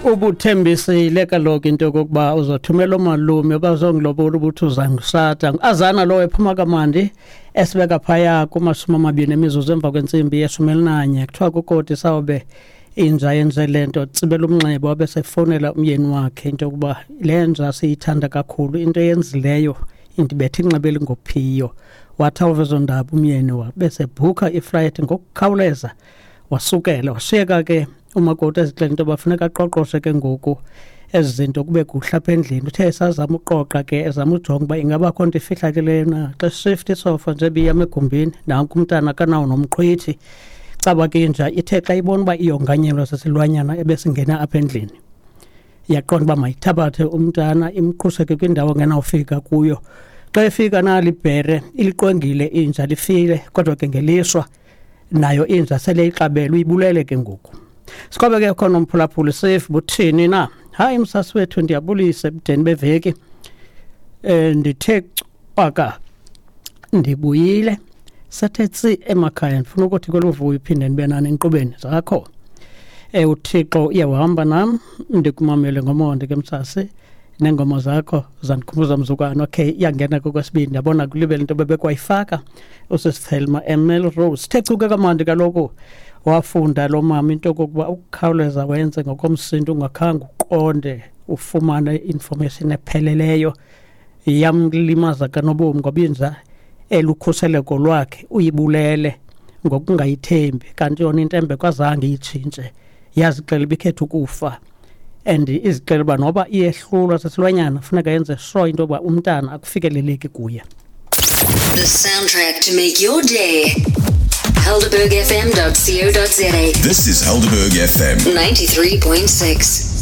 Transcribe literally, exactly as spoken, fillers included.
Ubuthembisile kaloku into yokokuba uzothumela umalume bazongilobola, ubuthi uzangisata azana lowo ephuma kamandi esibeka phaya kumashumi amabini emizuzu emva kwentsimbi yeshumi elinanye. Kuthiwa kukoti sawube inja yenze le nto, tsibela umnxeba, wabe sefowunela umyeni wakhe into yokuba le nja siyithanda kakhulu, into eyenzileyo indibethe inxeba elingophiyo. Wathi awuva ezo ndaba umyeni wabe sebhukha iflayithi ngokukhawuleza, wasukela washiyeka ke umakoti ezixela into yoba funeka aqoqoshe ke ngoku ezi zinto kube kuhle apha endlini. Uthe esazama uqoqa ke, ezama ujonga uba ingaba kho nto ifihlakeleyo na, xa shift isofa nje biyam egumbini, nanku umntana akanawo nomqhwithi. Caba ke inja ithe xa ibona uba iyonganyelwa sesilwanyana ebesingena apha endlini, yaqonda uba mayithabathe umntana imqhusheke kwindawo engenawufika kuyo. Xa efika nali ibhere iliqwengile inja, lifile, kodwa ke ngelishwa nayo inja sele ixabelwe, uyibulele ke ngoku. Sikwabe ke khona umphulaphuli safe buthini na? Hayi msasi wethu, ndiyabulisa ebudeni beveki. Eh ndithe cwaka, ndibuyile sathe tsi emakhaya. Ndifuna ukuthi koluvuyo iphinde ndibe nani enkqubeni zakho. Eh uThixo uyahamba nam, ndikumamele ngomonde ke msasi, neengoma zakho zandikhumbuza mzukwana. Okay, iyangena kokwesibini, ndiyabona kulibele into bebekwayifaka usisithelma eMelrose. Sithe chuke kamandi kaloku, wafunda lo mama into yokokuba ukukhawuleza wenze ngokomsindo ungakhange uqonde ufumane information epheleleyo yamlimaza kanobomi, ngoba inja elukhuseleko lwakhe uyibulele ngokungayithembi, kanti yona intembeko azange iyitshintshe, yazixela ibikhetha ukufa and izixela uba noba iyehlulwa sesilwanyana funeka yenze sure into yoba umntana akufikeleleki kuye. The soundtrack to make your day. Helderberg F M dot co dot za. This is Helderberg F M ninety-three point six.